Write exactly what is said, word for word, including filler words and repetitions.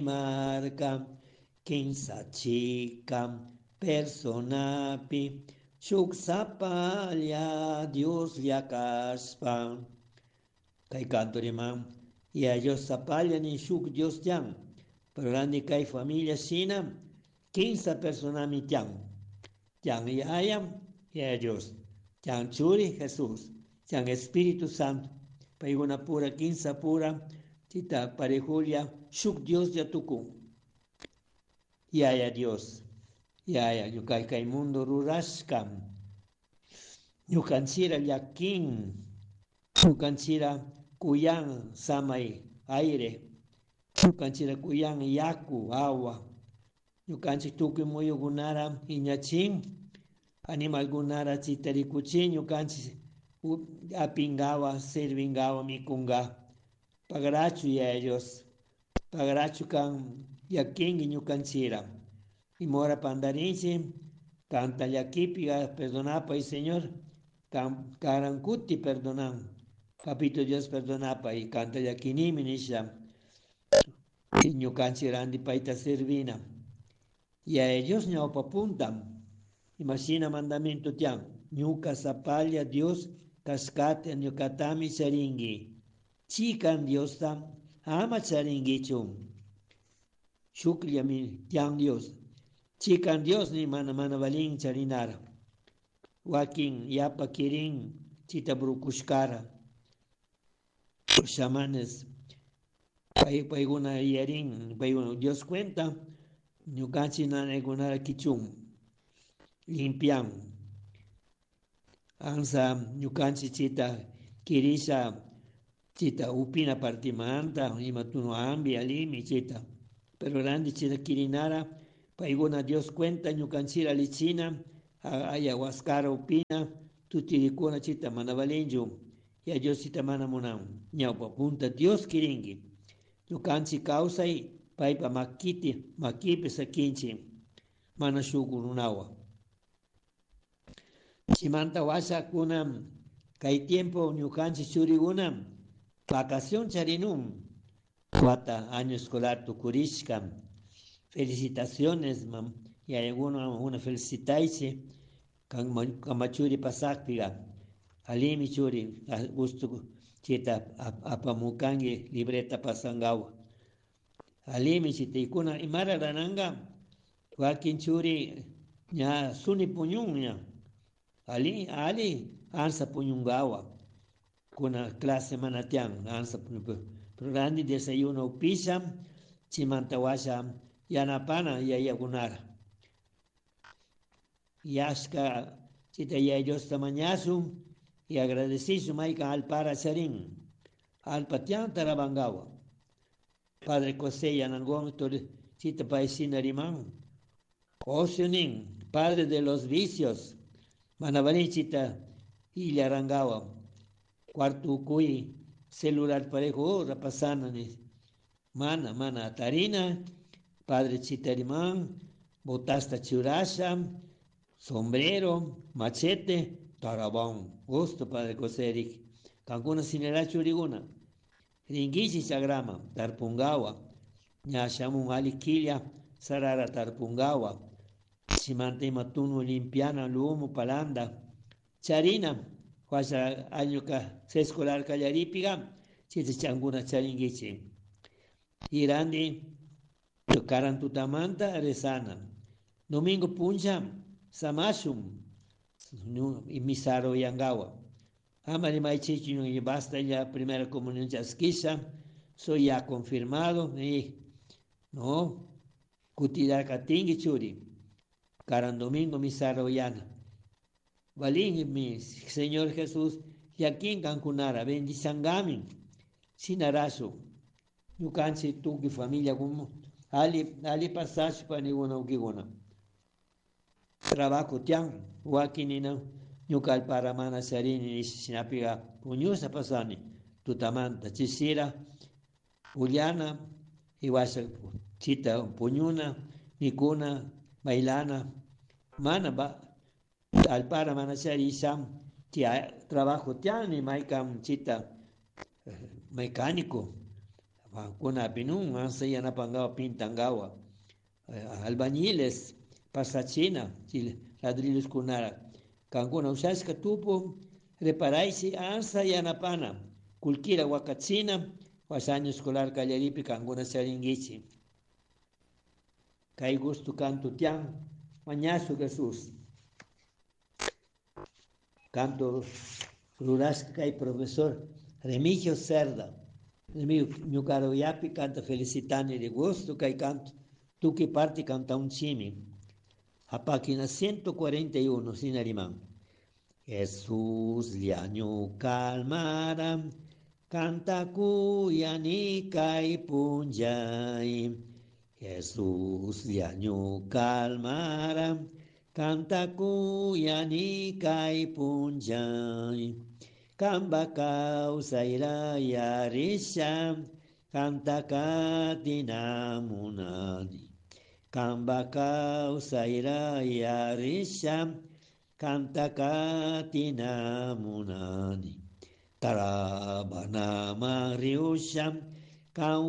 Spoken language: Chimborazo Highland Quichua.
Marka kinsa chikan personapi shuk sapalla Dioslla kashpa. Kay canto riman Yaya Dios sapalla ni shuk Dios tiyan. Pero randi kay familia shina kinsa personami tiyan. Tiyan Yaya, Yaya Dios. Tiyan Churi Jesús. Tiyan Espíritu Santo. Paykuna pura kinsa pura chita parejulla shuk Dioslla tukun. Yaya Dios. Yaya ñuka kay mundo rurashka. Ñukanchira llakin. Ñukanchira kuyan samay aire. Ñukanchira kuyan yaku agua. Ñukanchik tukuy muyukunara iñachin. Animalkunara chita rikuchin ñukanchik apingawa servingawa mikunga. Pagrachu Yaya Dios. Pagrachu kan llakinki ñukanchira. Imora pandarinchik kanta llakipi perdonapay, Señor. Karan kuti perdonan. Papito Dios perdonapay kanta llakinimi nisha. Ñukanchik randi payta servina. Yaya Dios ñawpa punta. Imashina mandamiento tiyan. Ñuka sapalla Dios kashkata ñukatami charinki. Chikan Diosta ama charinkichu. Shukllami tiyan Dios. Chikan Dios ni mana mana valin charinara. Wakin yapa kirin chita brukushkara. Chamanes pay paykuna yarin paykuna Dios cuenta ñukanchik nanaykunara kichun limpian. Ansa ñukanchik chita kirisha chita upina partimanta ima tunu ambi alimi chita. Pero randi chita kirinara paykuna Dios cuenta ñukanchira lichina ayahuascara upina tutirikuna chita mana valinchu. Yaya Dios chita mana munan. Ñawpa punta Dios kirinki. Ñukanchik kawsay paypa makiti makipi sakinchik mana shuk runawan. Chimanta washakuna kay tiempo ñukanchik churikuna vacación charinun. Wata año escolar tukurishka. Felicitaciones mam yayakuna una felicitaychik kama churi pasakpiga. Alimi churi gusto chita apamukanki libreta pasangawa. Alimi chita ikuna imara rananga wakin churi ña suni puñun ña. Ali ali ansa puñungawa. Kuna clase mana tiyan ansa puñun. Pero randi desayuno upisha chimanta washa yanapana yayakunara. Yashka chita Yaya Diosta mañashun y agradecishun maykan alpara charin. Alpa tiyan tarabangawa. Padre José Yanangón chita pay shina riman. Ocio nin, padre de los vicios. Mana valin chita illarangawa. Cuarto ukuy celular parejo ora pasana ni. Mana, mana atarina. Padre chita riman, botasta churasha, sombrero, machete, tarabón. Gusto, Padre José Eric. Kankuna sinera churiguna. Ringuichi chagrama, tarpungawa. Ña shamun ali quilla, sarara tarpungawa. Chimanta ima tunu limpiana, lumo, palanda. Charina, huasha año ka escolar kallaripiga, chita changuna charinguichi. Irandi, karan tutamanta rezana. Domingo puncha, samashum, misaro yangawa. Ama rimaichichu y basta ya primera comunión chaskisha, soy ya confirmado, y no, kutidar katingi churi. Karan domingo misaro yana. Valin mi Señor Jesús, yakin kankunara, bendichangamin, sinarasu. Ñukanchik tukuy familia como ali ali pasashpa niguna ukiguna. Trabajo tiyan, wakinina ñuka alpara mana charini shinapiga puñusha pasani tutamanta chishira pullana iwasha chita puñuna mikuna bailana mana ba alpara mana charisha tia trabajo tiyan ni maykan chita mecánico. Kunapinun ansa yanapangawa pintangawa. Albañiles pasachina ladrillos kunara. Kankuna ushashka tupu reparaysi ansa yanapana. Kullkira wakachina washa año escolar kallaripi kankuna charinkichik. Kay gusto canto tian mañazo Jesús. Canto rurashka kay profesor Remigio Cerda. Remigio ñukaruyapi canta felicitani de gusto kay canto tukuy parte cantaunchimi. A página ciento cuarenta y uno, sin arimán. Jesús ñuka almara, canta kuyani kay punllay. Jesús ñuka almara, canta kuyani kay punllay. Kamba kawsayra yarisha, canta katina munani. Kamba kawsayra yarisha, canta katina munani. Tarabana mariusha, kan